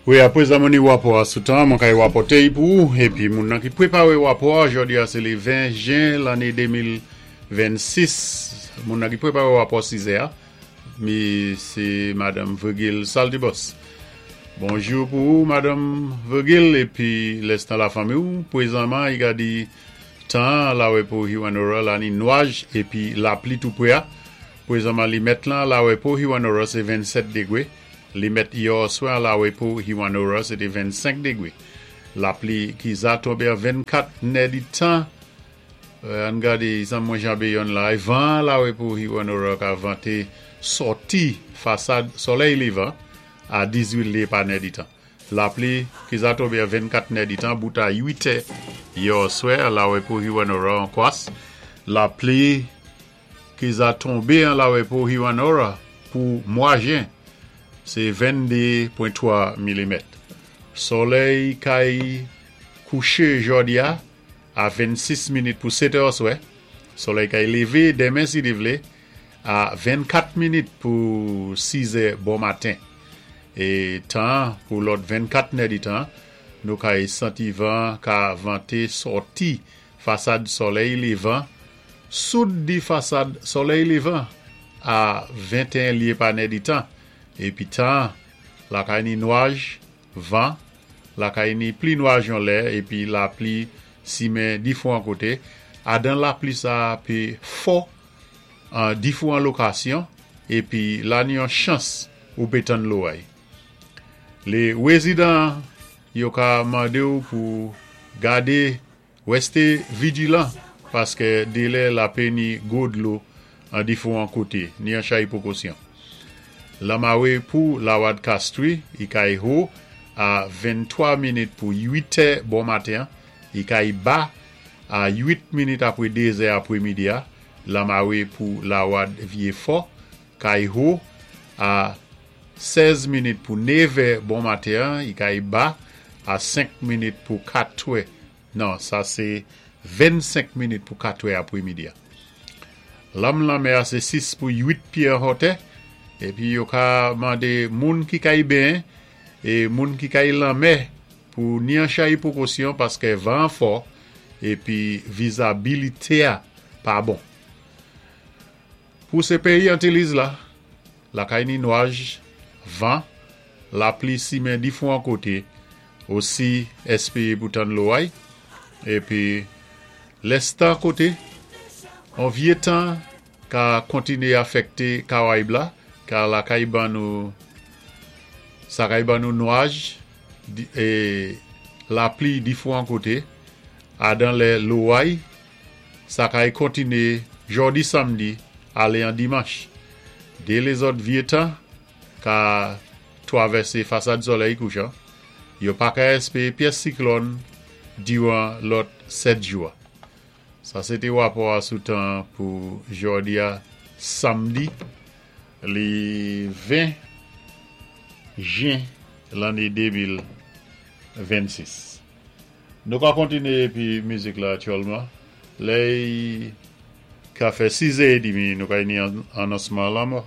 Wi, apwézan mwen ni wapò a sou tan, mwen kay wapòté-y pou ou, épi moun nan ki pwépawé wapò a, jòdi a sé lé 20 jen lanné 2026, moun nan ki pwépawé wapò 6 è a, mi sé Madanm Virgile Saltibus. Bonjou pou ou Madanm Virgile épi lèstan lafanmi ou, pwézanman i ka di tan an lawè pou Hewanorra la ni nwaj épi lapli tou pwé a, pwézanman limèt lan lawè pou Hewanorra sé 27 dégwé, limèt yè òswè an lawè pou Hewanorra sé té 25 dégwé. Lapli ki za tonbé an 24 nè di tan. Ann gade san mwen janbe yonn la. Van an lawè pou Hewanorra ka vante sòti fasad solèy levan a 18 lye pa nèditan. Lapli ki za tonbe an 24 nèditan bout a 8 è yè oswè an lawè pou Hewanorra an kwas. Lapli ki za tonbe an lawè pou Hewanorra pou mwa jen se 22.3 milimèt. Solèy kay kouche jòdi a A 26 minit pou 7 è oswè, solèy kay lévé denmen si li vlé, a 24 minit pou 6 è bon maten. É tan pou lòt 24 nèditan, nou kay santi van ka vanté sòti fasad solèy lévan, soud di fasad solèy lévan a 21 lye pa nèditan, épi tan lakay ni nwaj, Van, lakay ni pli nwaj yon lè épi lapli simen difouwan koté, adan lapli sa pé fò an difouwan lokasyon épi la ni yon chans ou pé tann loway. Lé wézidan yo ka mandé-w pou gadé Rèsté vijilan paskè délè lapé ni gwo dlo an difouwan koté, ni an chay pwokosyon. Lanmawé pou Lawad Kastri i kay ho a 23 minit pou 8 è bon maten, i kay ba a 8 minit apwé 2 zè apwémidi a, Lanmawé pou Lawad Vyé Fò kay ho a 16 minit pou 9 è bon maten, i kay ba a 5 minit pou 4 è Non, sa sé 25 minit pou 4 è apwémidi a. Lanm lanmè a sé 6 pou 8 pyé an hotè, épi yo ka mandé moun ki kay benyen é moun ki kay lanmè pou ni an chay pwokosyon paskè van an fò épi vizabilité a pa bon. Pou sé péyi Antiliz la, lakay ni nwaj, van, lapli simen difouwan koté, osi èspéyé pou tann loway, épi lès tan koté, on vyé tan ka kontiné afèkté Karayib la, ka lakay ban nou sa kay ban nou nwaj é lapli difouwan koté, adan lè loway Sa kay kontine jòdi samdi ale an dimanch. De lézòt vye tan ka twavèsé fasad solèy kouchan, yo pa ka èspéyé pyès siklòn diwan lòt 7 jou a. Sa sé té wapò a sou tan pou jòdi a samdi li 20 jen lanné 2026. Nou ka kontine épi mizik la aktyèlman. Lè i ka fè 6 è édmi nou kay ni anonsman lanmò.